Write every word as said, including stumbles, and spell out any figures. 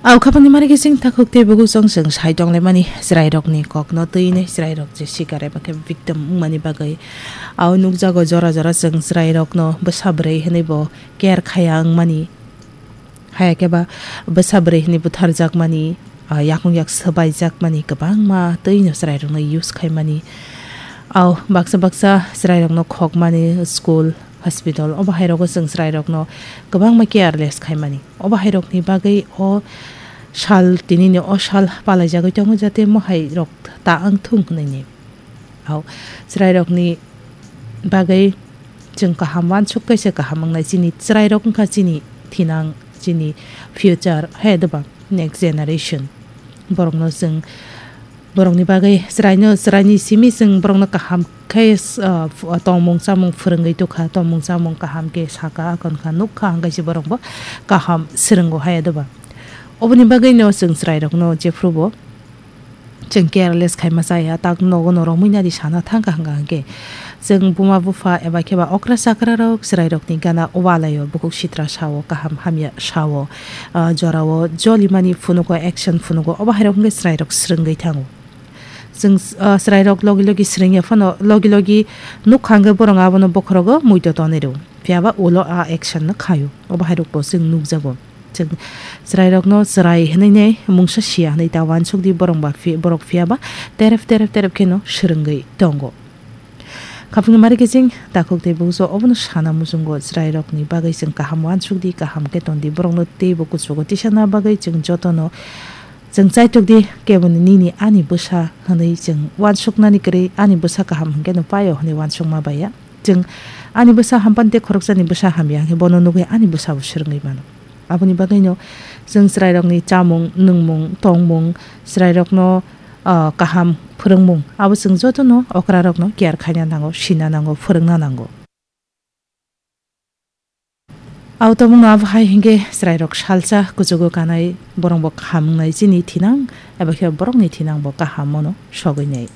Au khapangni mari khe chwng takhuk tei bukhuk chwng chwng sai tonglaimani chwrairokni kokno twi hwnwi chwrairok je sikar eba khe victim wngmani bagwi. Au nukjago jora jora chwng chwrairokno bwsa bwrwi hwnwi bo care khaya wngmani. Haya khe ba bwsa bwrwi hwnwi butharjakmani, ah, yakung yak swbaijakmani kwbangma twino chwrairokno use khaimani. Au baksa baksa chwrairokno khokmani school, hospital, obo hairokgo chwng chwrairokno kwbangma careless khaimani. Obo hairokni bagwi o sal, tinini o sal palaijagwi tongo, jate mohai rok ta wng thung hwnwi ni. Au chwrairokni bagwi chwng kaham wansuk kaisa kaham wngnai, chini chwrairok wngkha chini thinang, chini future, hai doba next generation. Borokno chwng, borokni bagwi chwraino, chwraini simi chwng borokno kaham khe, ah, f-, tongmung chamung phwrwngwi tukha, tongmung chamung kaham khe saka, akon kha, nukha, hwnkhe se borokbo kaham swrwngo, hai doba. Oboni bagwino chwng chwrairokno jephrubo chwng careless khaima chaya, tak nogo no romwi nadi sana thangkha hwnkha hwnkhe. Chwng buma bupha eba khe ba okra chakra rok chwrairokni gana walaio, bukhuk sitra sao, kaham hamya sao, ah, jorao jolimani phunugo, action phunugo, obo hairok hwnkhe chwrairok swrwngwi thango. Chwng, ah, chwrairok logi logi swrwngya phano logi logi nukha hwnkhe borok abono bokhorogo muito tonwi rw. Phiya ba ulo a action no khaio. Obo hairokbo chwng nukjago. Chwng chwrairokno chwrai hwnwi nai mungsa siya hwnwi ta wansuk di, borok ba phi-, borok phiya ba terep terep terep kheno swrwngwi tongo. Khapangni mari khe chwng takhuk tei bukhuso obono sana muchungo, chwrairokni bagwi chwng kaham wansuk di, kaham khe ton di, borokno teibo kuchugo tisana bagwi chwng jotono chwng chaitok di, keboni nini ani bwsa hwnwi chwng wansuknani kwrwi ani bwsa kaham hwnkhe no paio hwnwi wansukma baiya. Chwng ani bwsa hampani tei khoroksani bwsa hamya hwnkhe bono nugwi ani bwsabo swrwngwi mano. Aboni bagwino chwng chwrairokni chamung, nwngmung, tongmung, chwrairokno, ah, kaham phwrwngmung, abo chwng jotono okrarokno care khaina nango, sina nango, phwrwngna nango. Au tongmungno abo hai hwnkhe chwrairok salsa kuchugo kanai, borokbo kaham wngnai, chini thinang eba khe borokni thinangbo kaham mano sogwi nai.